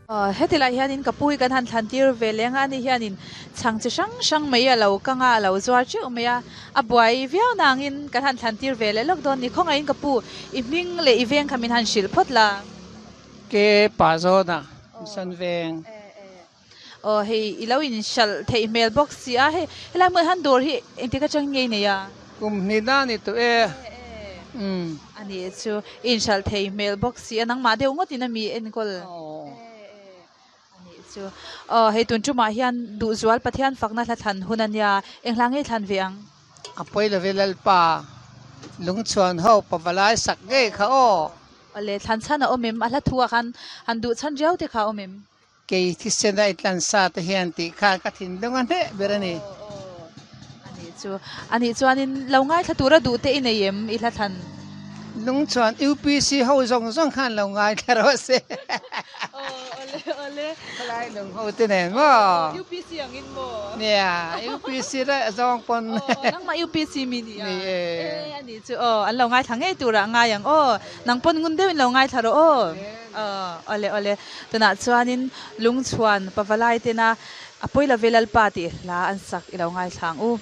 Aw heti lai hianin ka pu hi kan han thlan tir ve leng a ani hianin chhang chi hrang hrang mai a lo kang a a lo zuar teuh mai a a buai viau nangin kan han thlan tir ve leh lawk dawn a ni khawngaihin ka pu i hming leh i veng kha min han hrilh phawt la. Ke pa zawn a Mission veng. Aw hei i lo inhralh theih hmel bawk si a hei helai hmun hian dawr hi engtik atang nge i nei a? Kum hnih na ni tawh e. Umm. A nih chu i inhralh thei hmel bawk si a nangmah deuh ngawtin a mi enkawl. A nih chu. Aw hei tun tumah hian Duhzual Pathian fakna hla thlan hun a nia eng hla nge i thlan ve ang? A pawi love Lalpa lungchhuan ho pavalai sak ngei kha aw. Awle thlan chhan a awm em? A hla thu ah khan han duh chhan riau te kha a awm em? Kei thisena i tlan sa te hian tih kha ka thinlung a hneh ber a ni. A nih chu. A nih chuanin lo ngaithla tura duh te i nei em i hla thlan? Lung chuan UPC ho zawng zawng khan lo ngaithla rawh se. Aw awle awle. Khawlai lung ho te nen maw? UPC angin maw? Nia, UPC daih zawng pawn. Aw nangmah UPC mi nia. Ni e. E a nih chu aw an lo ngaithla ngei turah ngai ang aw. Nang pawn ngun deuhin lo ngaithla rawh aw. Aw awle awle. Tunah chuanin lungchhuan pavalai tena a pawi love Lalpa tih hla an sak i lo ngaithla ang u.